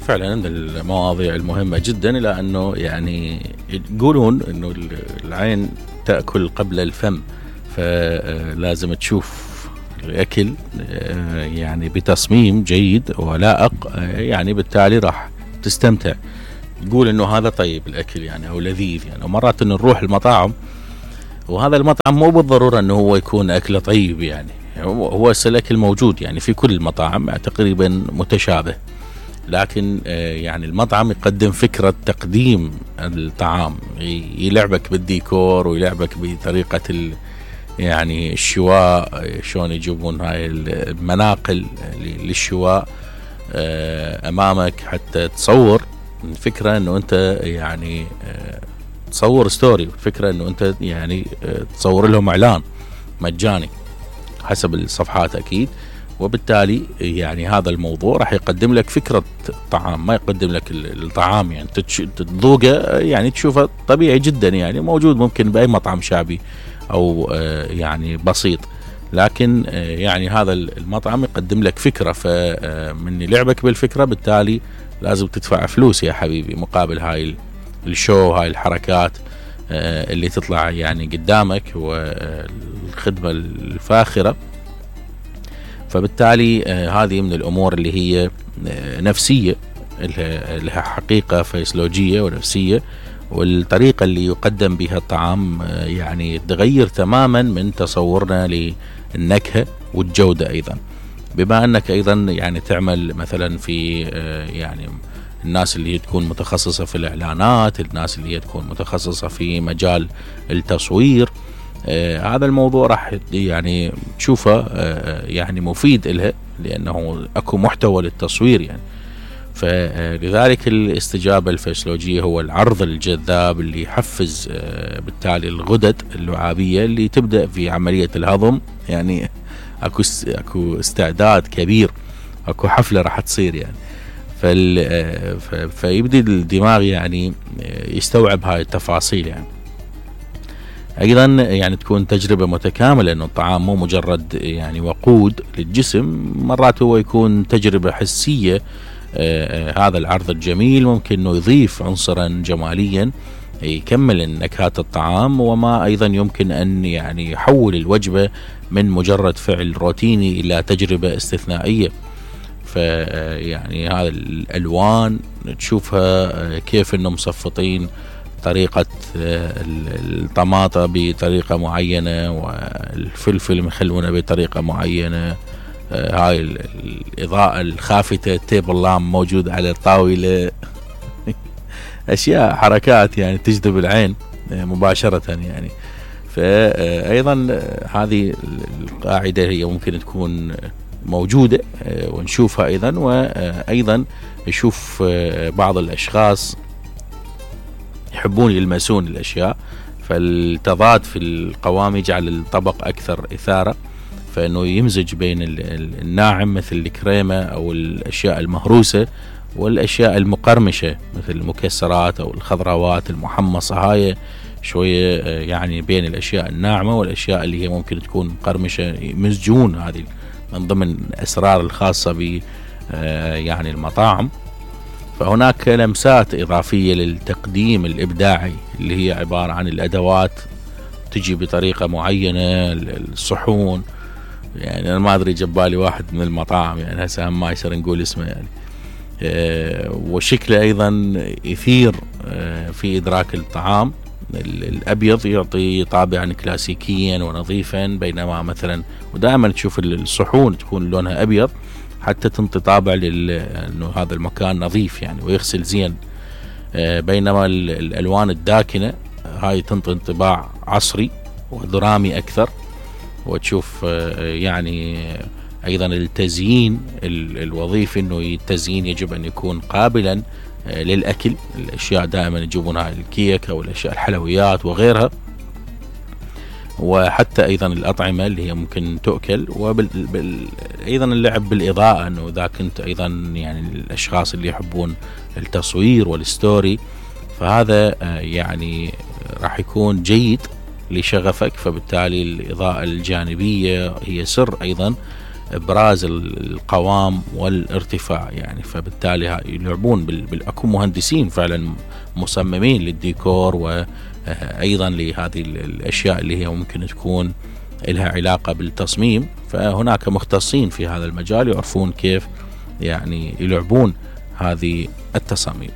فعلا من المواضيع المهمة جدا، إلى أنه يعني يقولون أنه العين تأكل قبل الفم، فلازم تشوف الأكل يعني بتصميم جيد ولائق، يعني بالتالي راح تستمتع، تقول أنه هذا طيب الأكل يعني أو لذيذ يعني. ومرات أنه نروح المطاعم وهذا المطعم مو بالضرورة أنه هو يكون أكله طيب، يعني هو الأكل موجود يعني في كل المطاعم تقريبا متشابه، لكن يعني المطعم يقدم فكرة تقديم الطعام، يلعبك بالديكور ويلعبك بطريقة يعني الشواء، شلون يجيبون هاي المناقل للشواء أمامك حتى تصور الفكرة أنه أنت يعني تصور ستوري، الفكرة أنه أنت يعني تصور لهم إعلان مجاني حسب الصفحات أكيد. وبالتالي يعني هذا الموضوع راح يقدم لك فكرة طعام، ما يقدم لك الطعام يعني تذوقه يعني تشوفه طبيعي جدا يعني موجود ممكن بأي مطعم شعبي أو يعني بسيط، لكن يعني هذا المطعم يقدم لك فكرة، فمن لعبك بالفكرة بالتالي لازم تدفع فلوس يا حبيبي مقابل هاي الشو، هاي الحركات اللي تطلع يعني قدامك والخدمة الفاخرة. فبالتالي هذه من الأمور اللي هي نفسية، لها حقيقة فيسيولوجية ونفسية، والطريقة اللي يقدم بها الطعام يعني تغير تماما من تصورنا للنكهة والجودة أيضا. بما أنك أيضا يعني تعمل مثلا في يعني الناس اللي تكون متخصصة في الإعلانات، الناس اللي تكون متخصصة في مجال التصوير، هذا الموضوع راح يعني تشوفه يعني مفيد إلها، لأنه أكو محتوى للتصوير يعني. فلذلك الاستجابة الفسيولوجية هو العرض الجذاب اللي يحفز بالتالي الغدد اللعابية اللي تبدأ في عملية الهضم، يعني أكو استعداد كبير، أكو حفلة راح تصير يعني. فيبدي الدماغ يعني يستوعب هاي التفاصيل يعني. أيضا يعني تكون تجربة متكاملة، أنه الطعام مو مجرد يعني وقود للجسم، مرات هو يكون تجربة حسية. هذا العرض الجميل ممكن أنه يضيف عنصرا جماليا يكمل نكهات الطعام، وما أيضا يمكن أن يعني يحول الوجبة من مجرد فعل روتيني إلى تجربة استثنائية. فيعني هذا الألوان تشوفها كيف أنه مصفطين طريقة الطماطة بطريقة معينة والفلفل مخلونه بطريقة معينة، هاي الإضاءة الخافتة، التيبل لام موجود على الطاولة أشياء حركات يعني تجذب العين مباشرة يعني. فأيضا هذه القاعدة هي ممكن تكون موجودة ونشوفها أيضا. وأيضا يشوف بعض الأشخاص يحبون يلمسون الأشياء، فالتضاد في القوام يجعل الطبق أكثر إثارة، فإنه يمزج بين الناعم مثل الكريمة أو الأشياء المهروسة والأشياء المقرمشة مثل المكسرات أو الخضروات المحمصة، هاي شوية يعني بين الأشياء الناعمة والأشياء اللي هي ممكن تكون مقرمشة، يمزجون. هذه من ضمن الأسرار الخاصة ب يعني المطاعم. فهناك لمسات إضافية للتقديم الإبداعي اللي هي عبارة عن الأدوات تجي بطريقة معينة، الصحون يعني أنا ما أدري جبالي واحد من المطاعم يعني هسه ما يصير نقول اسمه يعني، وشكله أيضا يثير في إدراك الطعام. الأبيض يعطي طابعا كلاسيكيا ونظيفا، بينما مثلا ودائما تشوف الصحون تكون لونها أبيض حتى تنطي طابع أنه هذا المكان نظيف يعني ويغسل زين، بينما الألوان الداكنة هاي تنطي انطباع عصري ودرامي أكثر. وتشوف يعني أيضا التزيين الوظيفي، أنه التزيين يجب أن يكون قابلا للأكل، الأشياء دائما يجيبونها الكيك أو الأشياء الحلويات وغيرها، وحتى أيضا الأطعمة اللي هي ممكن تؤكل، أيضا اللعب بالإضاءة، أنه إذا كنت أيضا يعني الأشخاص اللي يحبون التصوير والستوري فهذا يعني راح يكون جيد لشغفك. فبالتالي الإضاءة الجانبية هي سر أيضا ابراز القوام والارتفاع يعني. فبالتالي يلعبون اكو مهندسين فعلا مصممين للديكور وايضا لهذه الاشياء اللي هي ممكن تكون لها علاقة بالتصميم. فهناك مختصين في هذا المجال يعرفون كيف يعني يلعبون هذه التصاميم.